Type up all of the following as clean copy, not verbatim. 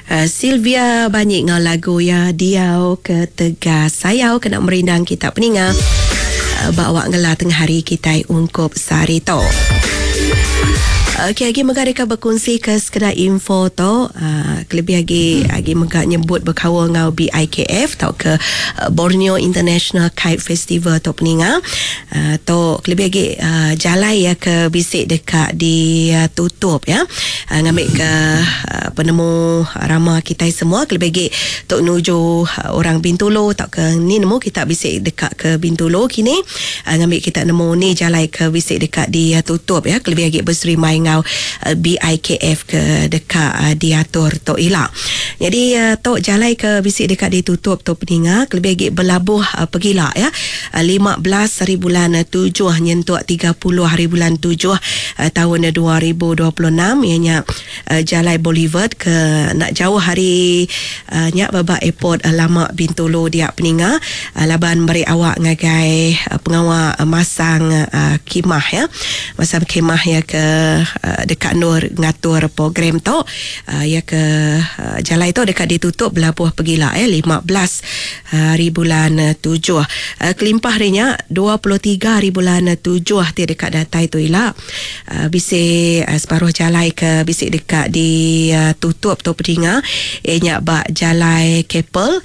Sylvia Banyi enggau lagu iya Diau Ke Tegas Sayau kena merindang kita peninga ba awak ngela tengah hari kitai ungkup sehari tu. Okey agi mega deka bekunsi ke sekeda info tu kelebih agi agi mega nyebut bekaul enggau BIKF tauka Borneo International Kite Festival tu peninga. Tu kelebih agi jalai iya ke bisi deka ditutup ya ngambika penemu rama kitai semua kelebih agi tu nuju orang Bintulu tauka ni nemu kita bisi deka ke Bintulu kini ngambi kita nemu ni jalai ke bisi deka ditutup ya kelebih agi beserimbai enggau BIKF ke deka diatur tu ila. Nyadi tu jalai ke bisi deka ditutup tu peninga kelebih agi belabuh pegila ya 15 haribulan tujuh nyentuk 30 haribulan tujuh taun 2026 iya nya Jalai Boulevard ke enda jauh ari nya ba ba airport lama Bintulu dia peninga laban meri awak ngagai pengawa masang khemah ya. Masang khemah iya ke deka endur ngatur program tu iya ke jalai tu deka ditutup belabuh pegila ya 15 haribulan tujuh. Kelimpah ari nya 23 haribulan tujuh ti deka datai tu ila Bisi separuh jalai ke bisi deka ditutup tu pedinga iya nya ba Jalai Keppel,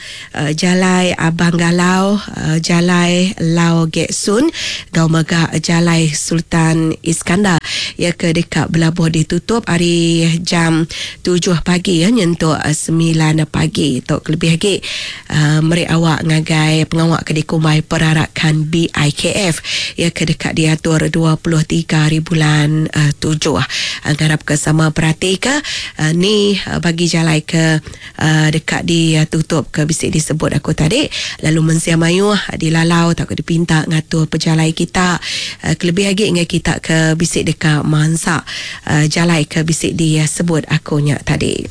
Jalai Abang Galau, Jalai Lau Gek Soon enggau mega Jalai Sultan Iskandar iya ke deka belabuh ditutup ari jam tujuh pagi nyentuk semilan pagi. Tu kelebih agi meri awak ngagai pengawa ke dikumbai Perarakan BIKF iya ke deka diatur 23 hari bulan tujuh. Ngarapka sama beratika ni bagi jalai ke deka ditutup ke bisi disebut aku tadi lalu mensia mayuh dilalau tauka dipinta ngatur pejalai kita kelebih agi ngagai kita ke bisi deka mansa jalai ke bisi disebut aku nya tadi.